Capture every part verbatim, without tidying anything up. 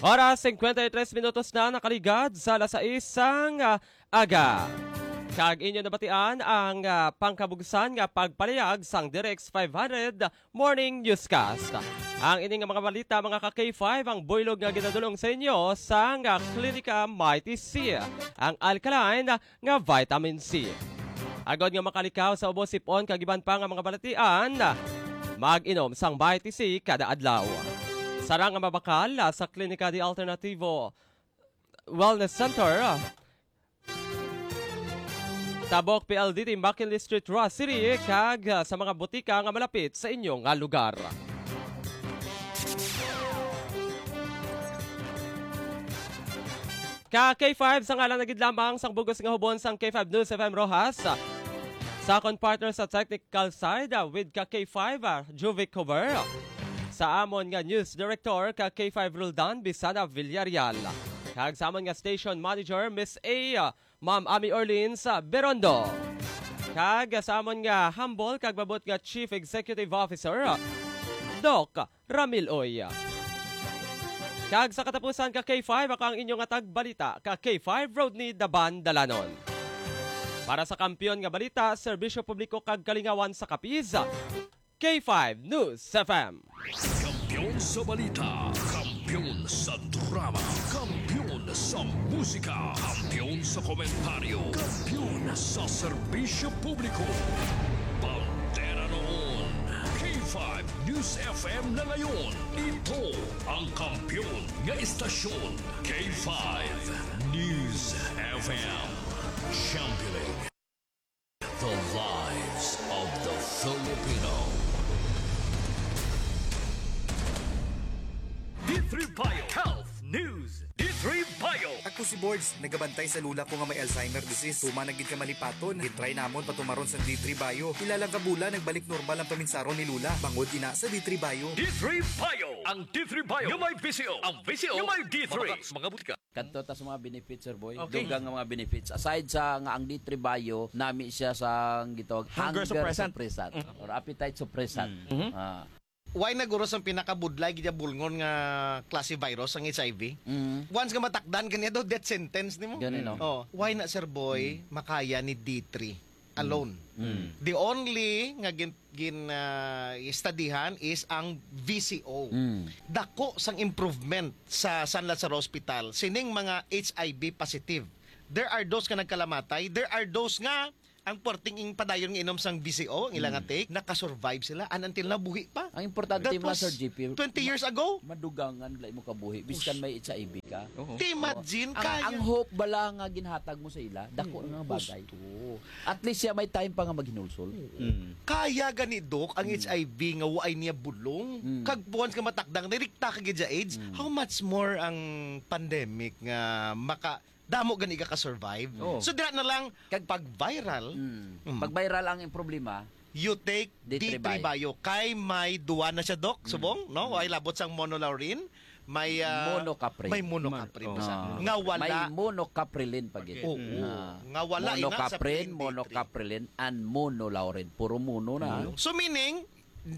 Oras, singkwenta y tres minutos na nakaligad sa alas sais sang, ah, aga. Kag inyo nabatian ang, ah, pangkabugsan nga pagpalayag sang Direx five hundred Morning Newscast. Ang ini nga mga balita, mga ka-K five, ang buylog nga ginadulong sa inyo sang, ah, Klinika Mighty C, ang alkaline nga vitamin C. Agod nga makalikaw sa ubo, sipon kag iban pa nga mga balatian, mag-inom sang Mighty C kada adlaw. Sarang nga mabakal, ah, sa Klinika de Alternativo Wellness Center, Tabok P L D T, McKinley Street, Roxas City, kag, ah, sa mga butika nga malapit sa inyo nga lugar. Ka K five, sa ngalan na gid lamang sang bugos nga hubon sang K five News F M Roxas, sa akon partner sa technical side, ah, with ka K five, ah, Juvic Cover, sa amon nga news director, ka K five Roldan Bisana Villarreal, kag sa amon nga station manager, Miss A, ah, Ma'am Ami Orleans, ah, Berondo, kag sa amon nga humble kag mabot nga Chief Executive Officer, ah, Doc Ramil Oy. Kag sa katapusan, ka K five, ako ang inyo nga tagbalita, ka K five, Rodney Daban Dalanon. Para sa Kampiyon nga Balita, Serbisyo Publiko kag Kalingawan sa Capiz, K five News F M. Kampiyon sa balita, kampiyon sa drama, kampiyon sa musika, kampiyon sa komentaryo, kampiyon sa serbisyo publiko. Bandera noon, K five News F M na ngayon. Ito ang kampiyon nga istasyon, K five News F M. Championing the lives of the Filipino. D three Bio Health News. D three Bio. Ako si Borge, nagabantay sa lula ko nga may Alzheimer disease. Tuma na gid ka malipaton. Gitry namon patumaron sang D three Bio. Pila lang ka bulan, nagbalik normal ang paminsaron ni lula. Bangod ina sa D three Bio. D three Bio. Ang D three Bio nga may V C O. Ang V C O nga may D three. Mga butika. Kadto ta sa mga benefits, Sir Boy. Okay. Dugang nga mga benefits. Aside sa nga ang D three Bio, nami siya sa gitawag Hunger hunger suppressant. suppressant Mm. or appetite suppressant. Mm. Mhm. Ah. Why na guro sang pinakabudlay gid bulngon nga klase virus ang H I V? Mm. Once nga matakdan ka niya, do death sentence nimo. Gani, no? Oh, why na, Sir Boy, Mm. makaya ni D three alone? Mm. The only nga gin, gin ah, studihan is ang V C O. Mm. Dako sang improvement sa San Lazaro Hospital sining mga H I V positive. There are those nga nagkalamatay, there are those nga ang perting padayon nga inom sang V C O, ang ila nga Mm. take, nakasurvive sila, and until now, buhi pa. Ang importante That mo, was Sir G P, twenty years ago. Madugangan la imo kabuhi, biskan Us- may H I V ka. Oo. Ti, imagine, Oo. Ang, kaya ang hope bala nga ginhatag mo sa ila, dako Mm, nga bagay. gusto. At least siya may time pa nga maghinulsol. Mm. Kaya gani, Doc, ang Mm. H I V nga waay niya bulong. Mm. Kag once nga matakdan, direkta ka gid sa AIDS, Mm. how much more ang pandemic nga maka, damo gani ka ka-survive. Oo. So, dira na lang, Kag pag viral, Mm. Mm. Pag viral ang problema, you take D three D three Bio. Bio. Kay may duwa na siya, Doc, Mm. subong, no? Mm. Ay labot sang monolaurin, may, ah, Monocaprin. may monocaprin Mon-, pa siya. oh. Nga wala. May monocaprin pa gid. Oo. Ah. Nga wala ina sa Monocaprin, plain D three. Monocaprin, and monolaurin. Puro mono na. Mono. So, meaning,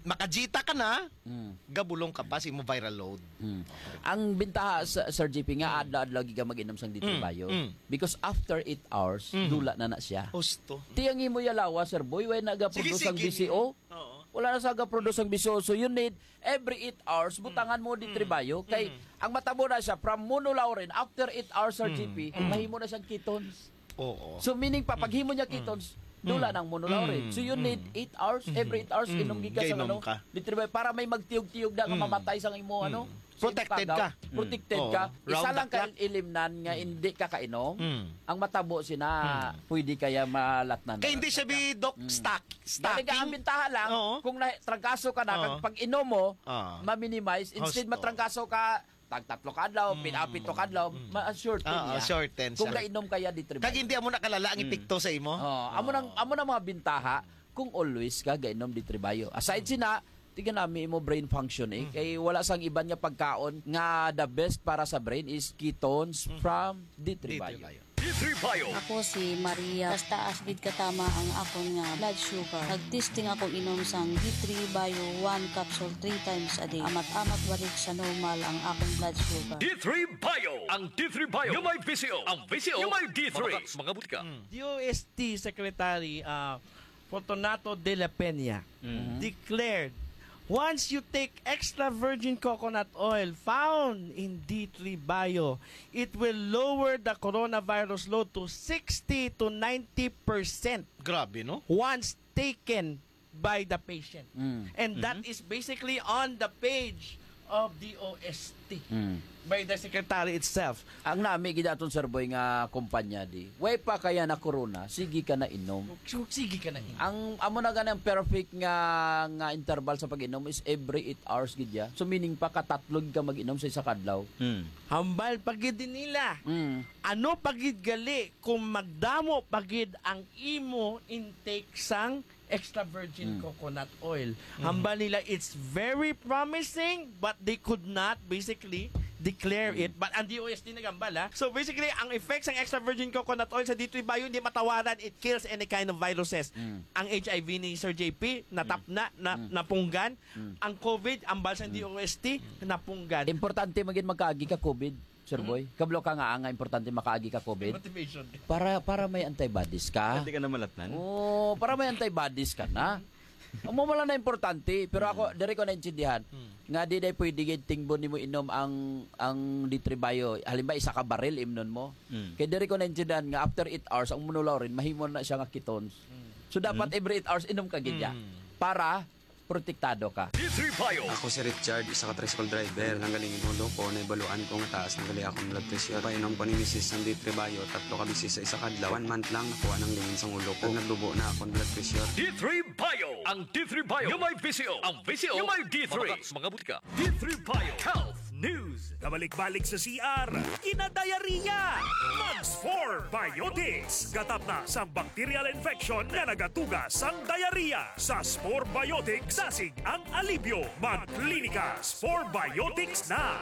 makajita ka na, Mm. gabulong ka pa sa imo viral load. Mm. Ang bintaha sa, Sir G P, nga Mm. adlaw-adlaw gid ka mag-inom sang D three Mm, Bio. mm. Because after eight hours, Mm. dula na na siya. Husto. Ti ang imo yalawa, Sir Boy, way na ga-produce Sige, ang sige. V C O. Oo. Wala na sa ga-produce ang V C O. So you need every eight hours, Mm. butangan mo D three Mm. Bio. Kay Mm. ang matabo na siya, from monolaurin, after eight hours, Sir Mm. G P, Mm. mahimo na siyang ketones. Oo. So, meaning pa, Mm. paghimo niya Mm. ketones, dula Mm. nang monolaurin. Mm. So, you need Mm. eight hours, Mm. every eight hours, Mm. inom gid ka sa Gainom ano, ka. D three Bio, para may magtiyog-tiyog na nga Mm. mamatay sa imo, Mm. ano, sa Protected imong kagaw. ka. Protected Mm. ka. Oo. Isa Round lang the clock. ka ilimnan nga Mm. hindi ka kainom. Mm. Ang matabo sina, Mm. pwede kaya malatnan. Kay hindi siya bi, Doc, Mm. stock, Dali ka, ang stocking. bintaha lang, Oo. kung na, trangkaso ka na, Oo. kag pag inom mo, Ah. ma-minimize. Instead, Husto. matrangkaso ka, tag tatlo ka adlaw, Mm. pila, pito ka adlaw, Mm. ma-, shorten Ah, ah, niya. Shorten Kung siya. gainom kaya D three Bio. Kag hindi amo nakalala ang Mm. epekto sa imo. Oh, amo nang, Oh. amo nang mga bintaha kung always ka gainom D three Bio. Aside Mm. sina, tingnan nami imo brain function eh. Mm. Kay wala sang iban nga pagkaon nga the best para sa brain is ketones Mm. from D three Bio. D three Bio. D three Bio. Ako si Maria. Taas-taas gid katama ang akon nga blood sugar. Nag-testing ako inom sang D three Bio one capsule three times a day. Amat-amat balik sa normal ang akon blood sugar. D three Bio. Ang D three Bio nga may visyo. Ang visyo nga may D three. Mga butika. D O S T Secretary, ah, Fortunato de la Peña Mm-hmm. declared, "Once you take extra virgin coconut oil found in D three Bio, it will lower the coronavirus load to sixty to ninety percent Grabe, no? once taken by the patient." Mm. And that Mm-hmm. is basically on the page of D O S T Mm. by the secretary itself. Ang nami gid aton, Sir Boy, nga kumpanya di. Way pa kaya na corona, sige ka na inom. So, sige ka na inom. Ang amo na gani ang perfect nga, nga interval sa pag-inom is every eight hours gid ya. So meaning pa katatlo gid ka mag-inom sa isa ka adlaw. Hmm. Hambal pa gid din nila. Mm. Ano pa gid gali kung magdamo pa gid ang imo intake sang extra virgin Mm. coconut oil. Mhm. Hambal nila, it's very promising, but they could not basically declare Mm. it. But ang D O S T nagambal, ha? So basically, ang effects ng extra virgin coconut oil sa D three Bio, hindi matawaran. It kills any kind of viruses. Mm. Ang H I V ni Sir J P, natap Mm. na, na, Mm. napunggan. Mm. Ang COVID, ambal sa Mm. D O S T, napunggan. Importante magin magkaagi ka COVID, Sir Mm. Boy. Kablo ka nga, nga importante makaagi ka COVID. Motivation. Para, para may antibodies ka. Hindi ka na malatnan. Oo, para may antibodies ka na. Amo man lang na importante, pero ako, Mm. diri ko naintindihan Hmm. nga di day pwede gid tingbon nimo inom ang, ang D three Bio. Halimbawa, isa ka baril imnon mo. Hmm. Kay diri ko naintindihan nga after eight hours, ang monolaurin, mahimo na siya nga ketones. Hmm. So, dapat Hmm. every eight hours, inom ka gid ya. Hmm. Para protektado ka. D three Bio. Ako si Richard, isa ka tricycle driver. Nanggaling in ulo ko, naibaluan ko nga taas na gali akong blood pressure. Painom ko ni misis sang D three Bio, tatlo ka beses sa isa ka adlaw. One month lang, nakuha nang lingin sang ulo ko. Nagdubo na akong blood pressure. D three Bio. Ang D three Bio nga may visyo. Ang visyo nga may D three. Mabakal sa mga butika. D three Bio Health News. Kabalik-balik sa C R, kinadayariya. Mag Spore Biotics. Gatap na sang bacterial infection nga nagatuga sang diarrhea. Sa Spore Biotics, dasig ang alibyo. Magklinika Spore Biotics na.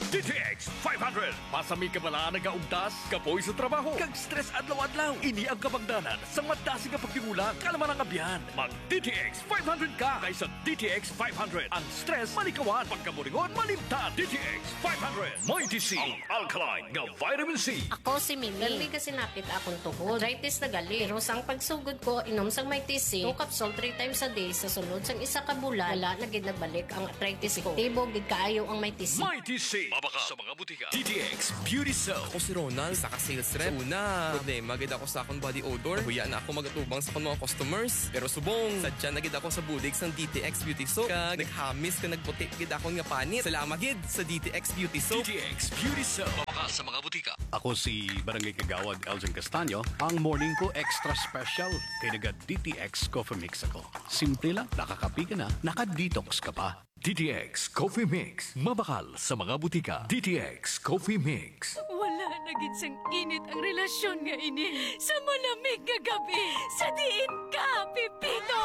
D T X five hundred. Pasami ka bala nagaugtas, kapoy sa trabaho, kag stress adlaw-adlaw. Ini ang kabangdanan sang madasig nga pagtigulang, kalma nga abyan. Mag D T X five hundred ka, kay sa D T X five hundred, ang stress malikawan, pagkaburingon malimtan. D T X five hundred, Mighty C, ang alkaline nga vitamin C. Ako si Mimi. Permi ka sinapit akong tuhod. Arthritis na gali. Pero sang pagsugod ko, inom sang Mighty C, two capsule three times a day, sa sulod sang isa ka bulan, wala na gid nagbalik ang arthritis ko. Epektibo gid kaayo ang Mighty C. Mighty C. Mabakal sa mga butika. D T X Beauty Soap. Ako si Ronald, isa ka sales rep. Sa una, problema gid ako sa akong body odor. Nahuya na ako magatubang sa akong mga customers. Pero subong, sadya na gid ako sa bulig sang D T X Beauty Soap. Kag naghamis kag nagputi gid akon nga panit. Salamat gid sa D T X Beauty Soap. D T X Beauty Soap. Mabakal sa mga butika. Ako si Barangay Kagawad Elgin Castaño. Ang morning ko extra special kay naga D T X Coffee Mix ako. Simple lang, nakakape ka na, naka-detox ka pa. D T X Coffee Mix. Mabakal sa mga butika. D T X Coffee Mix. Wala na gid sang init ang relasyon nga ini sa malamig nga gabi. Sa diin ka, Pepito?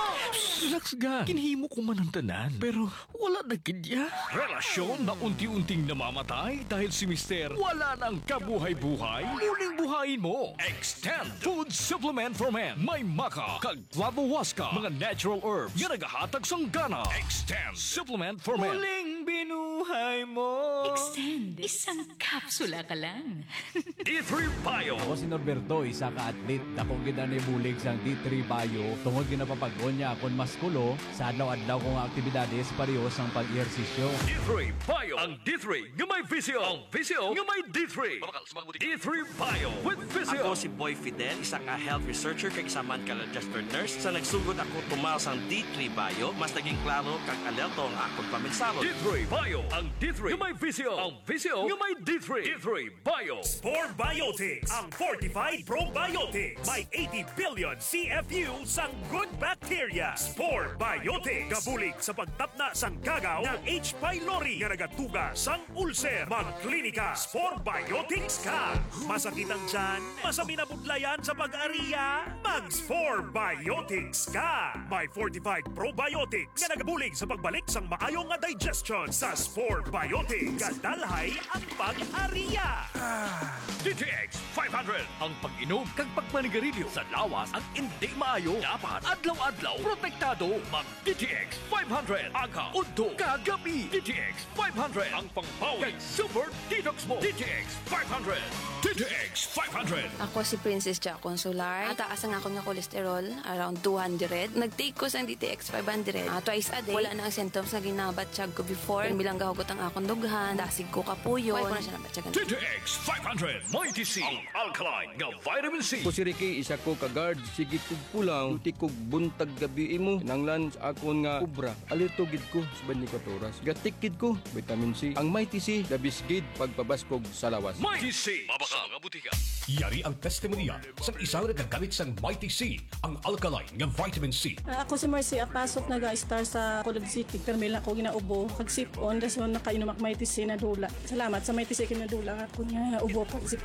Relax ka. Ginhimo ko man ang tanan, pero wala na gid ya. Relasyon na unti-unting namamatay dahil si Mister wala nang kabuhay-buhay. Muling buhayin mo. Extend Food Supplement for Men. May maca kag Flavo Huasca, mga natural herbs nga nagahatag sang gana. Extend Supplement for Men. Muling binuhay mo. Extend. Isang kapsula ka lang. D three Bio. Ako si Norberto, isa ka athlete. Dako gid ang nahibulig sang D three Bio tungod ginapapag-on niya akon maskulo sa adlaw-adlaw ko nga aktibidades, pareho sang pag-ehersisyo. D three Bio. Ang D three nga may visyo. Ang visyo nga may D three. Mabakal sa mga butika. D three Bio with Visio. Ako si Boy Fidel, isa ka health researcher kag isa man ka registered nurse. Sa nagsugod ako tumal sang D three Bio, mas naging klaro kag alerto ang akon pamigsalon. D three Bio, ang D three nga may visyo. Ang visyo nga may D three. D three Bio. Spore Biotics, ang fortified probiotics. May eighty billion C F U sang good bacteria. Spore Biotics. Gabulig sa pagtapna sang kagaw ng H. pylori nga nagatuga sang ulcer. Magklinika Spore Biotics ka. Masakit ang tiyan? Masami na budlayan sa pag-ariya? Mag Spore Biotics ka. May fortified probiotics nga nagabulig sa pagbalik sang maayo nga digestion. Sa Spore Biotics, Dalhay ang pag-aria. D T X five hundred, ang pag-inom kag pagmanigarilyo sa lawas ang indi maayo. Dapat adlaw-adlaw protektado. Mag D T X five hundred, aga, udto, kag gabi. D T X five hundred, ang pangbawi kag super detox mo. D T X five hundred. D T X five hundred. Ako si Princess Jacon Solar. Ang taas ang akon nga cholesterol, around two hundred. Nag-take ko sang D T X five hundred. Ah, twice a day. Wala na ang symptoms nga ginabatyag ko before. Pirmi lang gahugot ang akon dughan. Dasig ko kapuyon. Wala ko na siya nabatyagan. D T X five hundred Mighty C, ang alkaline nga vitamin C. Ako si Ricky, isa ko ka guard. Sige kog pulaw, duty kog buntag gabi imo. Kinahanglan sa akon nga obra. Alerto gid ko sa twenty-four oras. Gatik gid ko, vitamin C. Ang Mighty C, the best gid pagpabaskog sa lawas. Mighty C, mabakal sa mga butika. Yari ang testimonya sang isa nga nagagamit sang Mighty C, ang alkaline nga vitamin C. Ah, ako si Mercy Apasok, naga-star sa Colod City. Pero may lang ako ginaubo, kag sipon, dason nakainom ak Mighty C, nadula. Salamat sa Mighty C, kinadula ako nga ubo, kag sipon.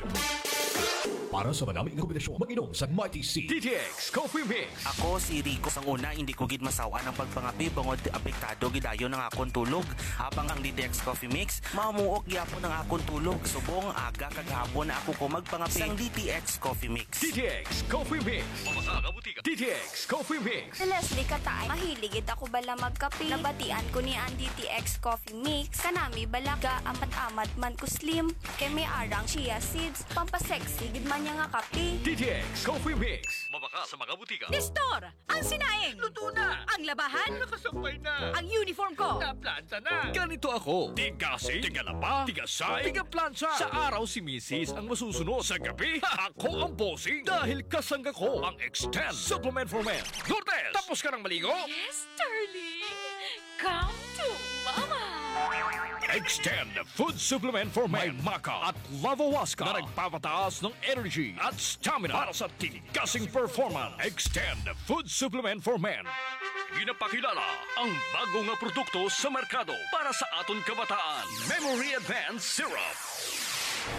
Para sa manami nga kombinasyon, mag-inom sa Mighty C. D T X Coffee Mix. Ako si Rico. Sang una, hindi ko gid masaw-an ang pagpangapi bangod apektado gid dayon ang akon tulog. Habang ang D T X Coffee Mix, mamuok gyapon ang akon tulog. Subong aga kag hapon na ako ko magpangapi. Sang D T X Coffee Mix. D T X Coffee Mix. Mabasa ka butika. D T X Coffee Mix. Si Leslie Kataay, mahilig gid ako bala magkape. Nabatian ko ni ang D T X Coffee Mix. Kanami bala ga amat-amat man ko slim. Kay may arang chia seeds, pampasexy gid man niya nga kape. D T X Coffee Mix. Mabakal sa mga butika. Nestor, ang sinaing. Luto na. Ang labahan. Nakasampay na. Ang uniform ko. Naplanta na. Ganito ako. Tigasig, tigalaba, tigasay, tigaplansa. Sa araw si misis ang masusunod. Sa gabi, ako ang bossing. Dahil kasangga ko ang Extend Supplement for Men. Lourdes, tapos ka nang maligo? Yes, darling. Come to Mama. Extend Food Supplement for Men. May maca at lavawaska na nagpapataas ng energy at stamina para sa tigasing performance. Extend Food Supplement for Men. Ginapakilala ang bago nga produkto sa merkado para sa aton kabataan, Memory Advance Syrup.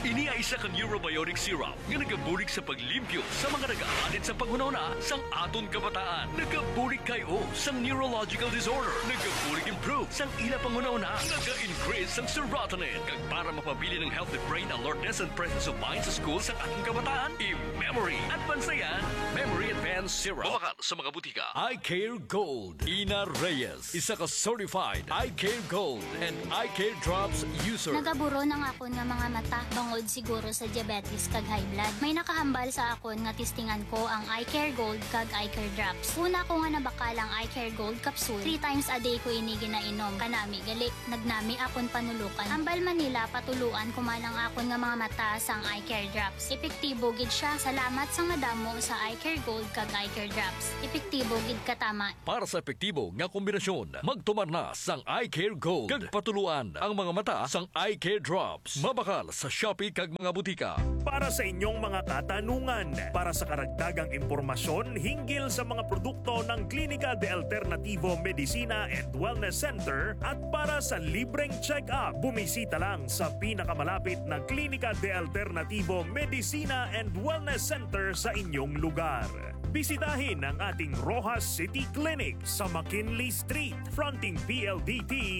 Ini ay isa ka neurobiotic syrup nga nagabulig sa paglimpyo sa mga nagaanid sa panghunahuna sang aton kabataan. Nagabulig kay o sang neurological disorder. Nagabulig improve sang ila panghunahuna. Naga-increase sang serotonin. Kag para mapabilin ang healthy brain alertness and presence of mind sa school sang aton kabataan, i-Memory Advance na yan. Memory Advance Syrup. Mabakal sa mga butika. Eye Care Gold. Ina Reyes, isa ka certified Eye Care Gold and Eye Care Drops user. Nagaburon ang akon nga mga mata, bangod siguro sa diabetes kag high blood. May nakahambal sa akon nga testingan ko ang Eye Care Gold kag Eye Care Drops. Una ko nga nabakal ang Eye Care Gold capsule, three times a day ko ini ginainom. Kanami gali, nagnami akon panulokan. Hambal man nila, patuluan ko man ang akon nga mga mata sang Eye Care Drops. Epektibo gid siya. Salamat sang madamo sa Eye Care Gold kag Eye Care Drops. Epektibo gid katama. Para sa epektibo nga kombinasyon, magtumar na sang Eye Care Gold kag patuluan ang mga mata sang Eye Care Drops. Mabakal sa Shopee kag mga butika. Para sa inyong mga katanungan, para sa karagdagang impormasyon hinggil sa mga produkto ng Klinika de Alternativo Medicina and Wellness Center at para sa libreng check-up, bumisita lang sa pinakamalapit na Klinika de Alternativo Medicina and Wellness Center sa inyong lugar. Bisitahin ang ating Roxas City Clinic sa McKinley Street, fronting P L D T,